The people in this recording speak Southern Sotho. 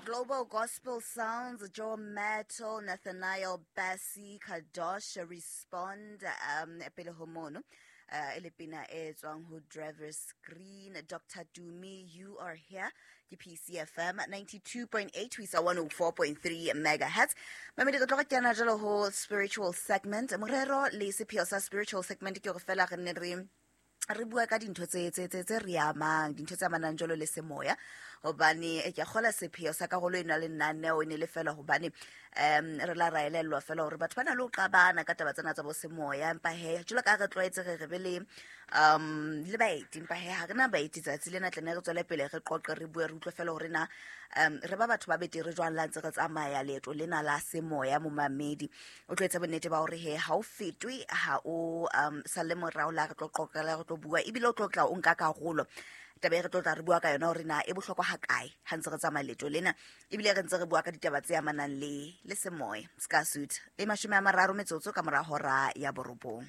Global Gospel Sounds, Joe Metal, Nathaniel Bassey, Kadosh, Respond, pele ho mono. E le pina e tswang ho Drivers Green, Dr. Dumi, You Are Here, ke PCFM 92.8 ho isa 104.3 megahertz. Mamedi, re tlo re kena jalo ho spiritual segment. Morero le sepheo sa spiritual segment ke hore fela re nne re bua ka dintho tse re amang, dintho tse amanang jalo le semoya, hobane ke a kgola sepheo sa karolo ena le lenaneo e ne le fela hobane re la ra elellwa fela hore batho ba na le ho qabana ka taba tsena tsa bo semoya. Empa he, jwalo ka ha re tlwaetse re be le baeti, empa he ha re na baeti tsatsi lena, tla ne re tswele pele re qoqe, re bue, re utlwe fela hore na re ba batho ba betere jwang la ntse re tsamaya leeto lena la semoya. Momamedi o tlo etsa bonnete ba hore he ha o fetwe, ha o salle morao la re tlo qoqela, re tlo bua, ebile o tlo tla o nka karolo. Taba e re tlo tla re bua ka yona hore na e bohlokwa ha kae ha ntse re tsamaya leeto lena, ebile re ntse re bua ka ditaba tse amanang le semoya. Ska suit e 30 metsotso ka mora hora ya 9.